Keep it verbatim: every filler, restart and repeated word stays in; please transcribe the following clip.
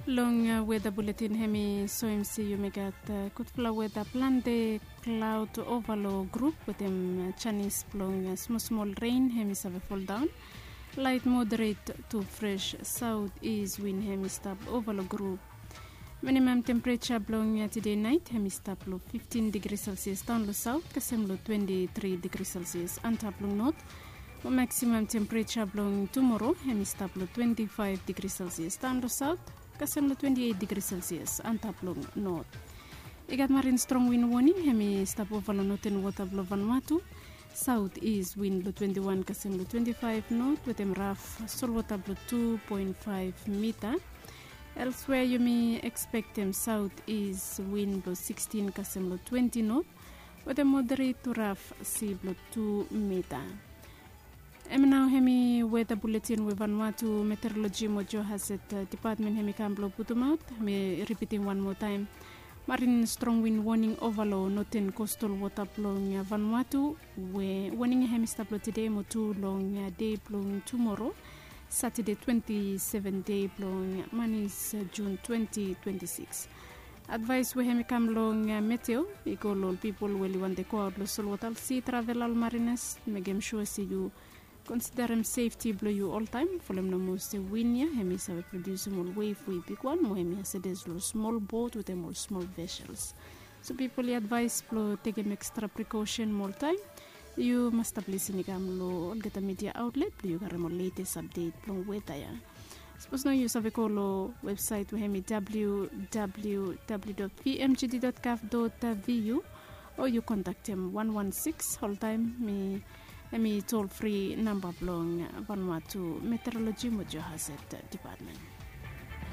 Long weda buletin hem i soem se yumi gat gudfala weda plante klaod ova long grup wetem janis blong smosmol ren hem i save foldaon. Lait moderet tu fres saot is win hem i stap ova long grup. Minimam tempereja blong tide nait hem i stap long fiftin digri selsias daon long saot kasem long twenti tri digri selsias antap long not. Mo maksimam tempereja blong tumoro hem i stap long twenti faef digri selsias daon long saot kasem long twenti eit digri selsias antap long not. I gat marin strong win woning hem i stap ova long noten wota blong vanua tu. Saot is win blong twenti wan kasem long twenti faef not wetem raf solwota blong tu poen faef mita. Elswea yumi ekspektem saot is win blong sikstin kasem long twenti not wetem moderet tu raf si blong tu mita. Em nao hem i weda buletin we vanua tu meteoroloji mo johazet dipatmen hem i kam blong putumaot. Mi ripitim wan moa taem. Marin strong win woning ova long noten kostal wota blong vanua tu we woning hem i stap long tide mo tu long dei blong tumoro, satade twenti seven dei blong manis, jun twenti twenti sikis. Advaes we hem i kam long meteo i go long ol pipol we oli wante goaot long solwota olsi travela ol marinas, mekem sua se yu konsiderem sefti blong yu oltaem folem nomo se win ya hem i save prodiusim ol wef we i bigwan mo hem i hasedes long smol bot wetem ol smol vesels. So pipol i advaes blong tekem ekstra prikosen mo oltaem yu mas stap lisin i kam long olgeta midia aotlet blong yu karem ol letes apdet blong weta ya. Sapos nao yu save go long websaet we hem i www dot vmgd dot gov dot vu o yu kontaktem wan wan sikis oltaem. Mi hem i tol fri namba blong vanua tu meteoroloji mo johazet dipatmen.